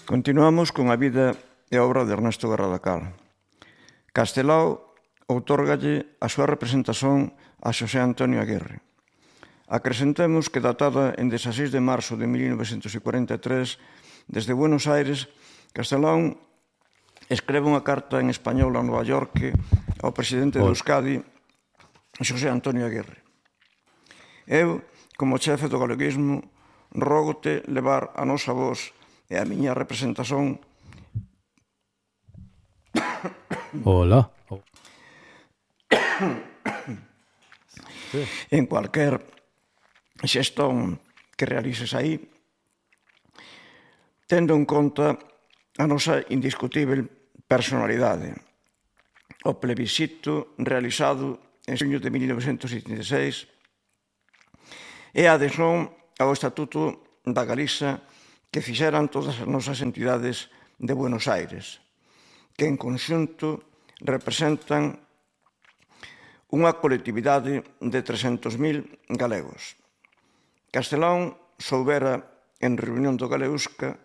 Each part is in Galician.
Continuamos con a vida e a obra de Ernesto Guerra da Cal. Castelao outórgalle a súa representación a Xosé Antonio Aguirre. Acrescentemos que datada en 16 de marzo de 1943, desde Buenos Aires, Castelao escreve unha carta en español a Nova York ao presidente de Euskadi, Xosé Antonio Aguirre. Eu, como chefe do galeguismo, rógote levar a nosa voz e a miña representación en cualquier xestón que realices aí, tendo en conta a nosa indiscutível personalidade. O plebiscito realizado en xuño de 1976 e a adhesión ao Estatuto da Galiza que fixeran todas as nosas entidades de Buenos Aires, que en conxunto representan unha colectividade de 300.000 galegos. Castelao soubera en reunión do Galeusca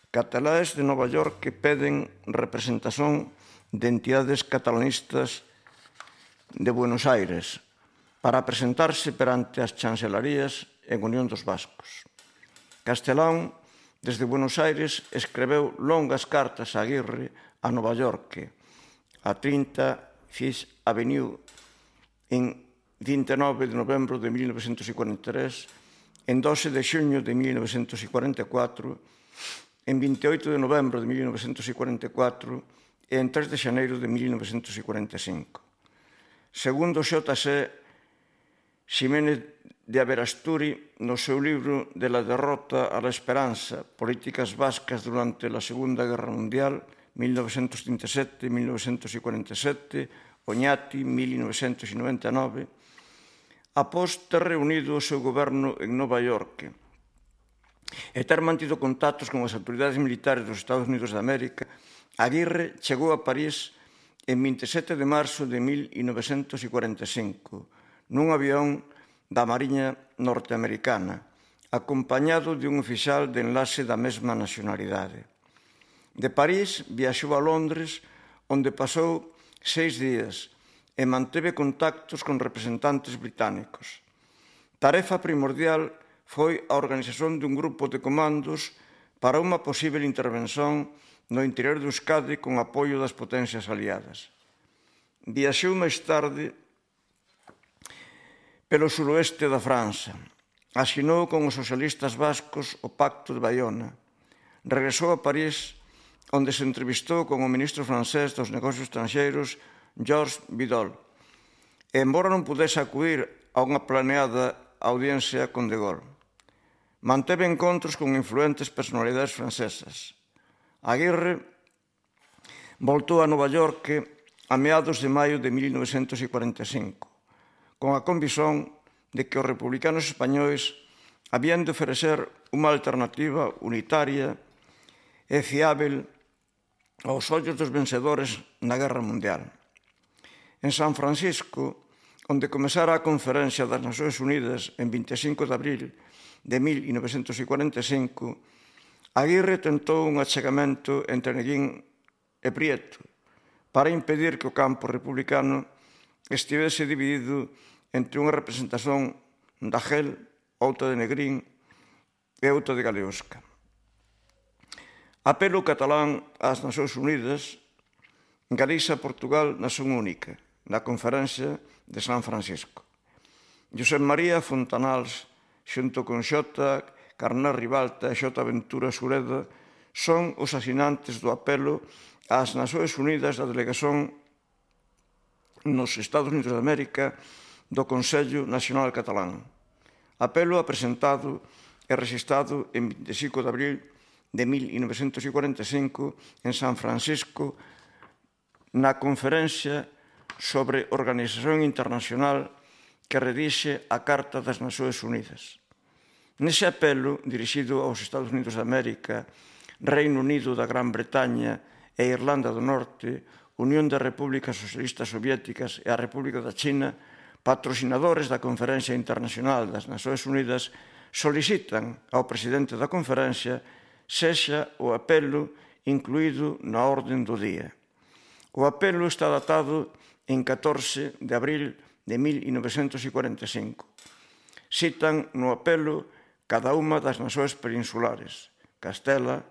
catalaes de Nova York que peden representación de entidades catalanistas de Buenos Aires para presentarse perante as chancelarías en Unión dos Vascos. Castelao, desde Buenos Aires, escreveu longas cartas a Aguirre a Nova York, a 30 Fifth Avenue, en 29 de novembro de 1943, en 12 de xuño de 1944, en 28 de novembro de 1944 e en 3 de xaneiro de 1945. Segundo X.C. Ximénez de Aberasturi, no seu libro De la derrota a la esperanza, políticas vascas durante la Segunda Guerra Mundial, 1937-1947, Oñati, 1999, após ter reunido o seu goberno en Nova York e ter mantido contactos con as autoridades militares dos Estados Unidos de América, Aguirre chegou a París en 27 de marzo de 1945, nun avión da Mariña norteamericana, acompañado de un oficial de enlace da mesma nacionalidade. De París viaxou a Londres, onde pasou 6 días e manteve contactos con representantes británicos. Tarefa primordial foi a organización dun grupo de comandos para unha posible intervención no interior de Euskadi con apoio das potencias aliadas. Viaxou máis tarde pelo suroeste da França. Asinou con os socialistas vascos o Pacto de Bayona. Regresou a París, onde se entrevistou con o ministro francés dos negocios estranxeiros, Georges Vidal, e embora non pudese acudir a unha planeada audiencia con De Gaulle. Manteve encontros con influentes personalidades francesas. Aguirre voltou a Nova York a meados de maio de 1945, con a convicción de que os republicanos españois habían de ofrecer unha alternativa unitaria e fiável aos ollos dos vencedores na Guerra Mundial. En San Francisco, onde comezara a Conferencia das Nacións Unidas en 25 de abril de 1945, Aguirre tentou un achegamento entre Neguín e Prieto para impedir que o campo republicano estivese dividido entre unha representación da GEL, outra de Negrín e outra de Galeusca. Apelo catalán ás Nacións Unidas, Galiza e Portugal nación única, na Conferencia de San Francisco. Josep María Fontanals, xunto con Xota Carné Ribalta e Xota Ventura Sureda, son os asinantes do apelo ás Nacións Unidas da delegación nos Estados Unidos de América do Consello Nacional Catalán. Apelo apresentado e rexistrado en 25 de abril de 1945 en San Francisco na Conferencia sobre Organización Internacional que redixe a Carta das Nacións Unidas. Nese apelo, dirixido aos Estados Unidos de América, Reino Unido da Gran Bretaña e Irlanda do Norte, Unión das Repúblicas Socialistas Soviéticas e a República da China, patrocinadores da Conferencia Internacional das Nacións Unidas, solicitan ao presidente da conferencia sexa o apelo incluído na orden do día. O apelo está datado en 14 de abril de 1945. Citan no apelo cada unha das nacións peninsulares, Castela,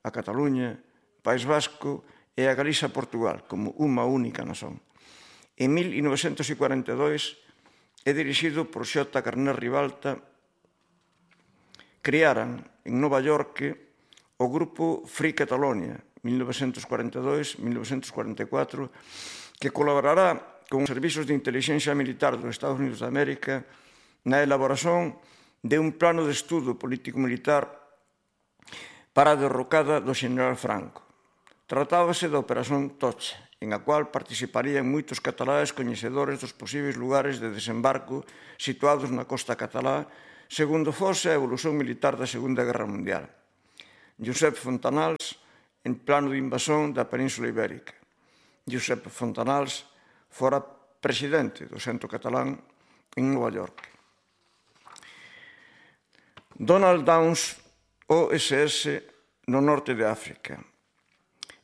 a Cataluña, País Vasco e a Galiza Portugal, como unha única nación. En 1942 é dirixido por Xota Carner Ribalta. Criaran en Nova York o grupo Free Catalonia, 1942-1944, que colaborará con os servizos de inteligencia militar dos Estados Unidos de América na elaboración de un plano de estudo político-militar para a derrocada do xeneral Franco. Tratábase da Operación Tocha, en a cual participarían moitos cataláes coñecedores dos posibles lugares de desembarco situados na costa catalá, segundo fose a evolución militar da Segunda Guerra Mundial. Josep Fontanals, en plano de invasión da Península Ibérica. Josep Fontanals fora presidente do Centro Catalán en Nova York. Donald Downes, OSS no norte de África.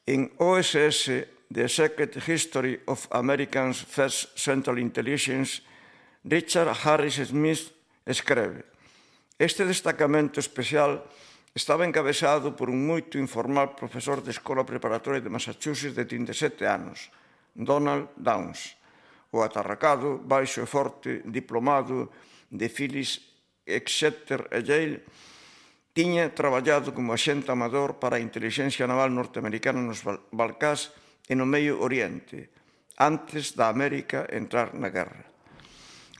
En OSS, The Secret History of Americans' First Central Intelligence, Richard Harris Smith escreve: este destacamento especial estaba encabezado por un moito informal profesor de escola preparatoria de Massachusetts de 37 anos, Donald Downes, o atarracado, baixo e forte diplomado de Phyllis Exeter e Yale, tiña traballado como axente amador para a inteligencia naval norteamericana nos Balcás e no Medio Oriente, antes da América entrar na guerra.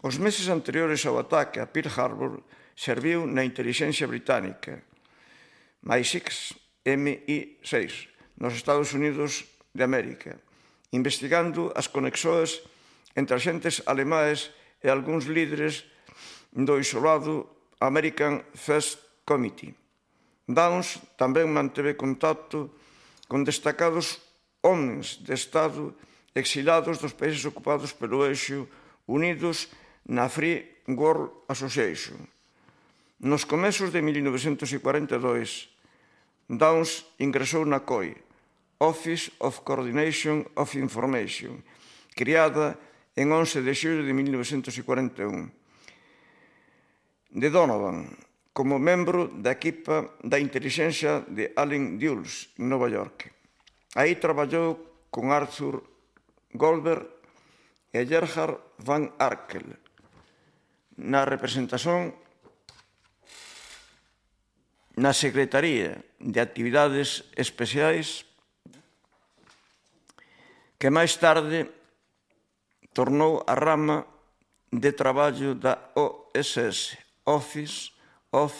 Os meses anteriores ao ataque a Pearl Harbor serviu na inteligencia británica, MI6, MI6, nos Estados Unidos de América, investigando as conexóns entre axentes alemaes e algúns líderes do isolado American First Committee. Downes tamén manteve contacto con destacados homens de Estado exilados dos países ocupados pelo Eixo, unidos na Free World Association. Nos comezos de 1942, Downes ingresou na COI, Office of Coordination of Information, criada en 11 de xullo de 1941, de Donovan, como membro da equipa da inteligencia de Allen Dulles, en Nova York. Aí traballou con Arthur Goldberg e Gerhard van Arkel na representación na Secretaría de Actividades Especiais, que máis tarde tornou a rama de traballo da OSS, Office of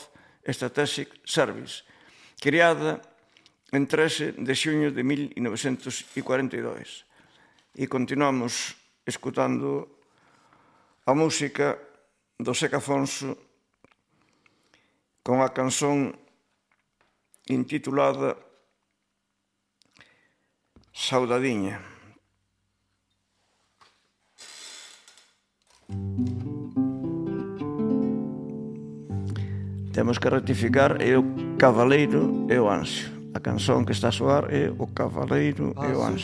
Strategic Service, criada en 13 de xuño de 1942. E continuamos escutando a música do Seca Afonso con a canción intitulada Saudadiña. Temos que rectificar, é o Cavaleiro e o Anxo. A canción que está a soar é o Cavaleiro e o Anxo.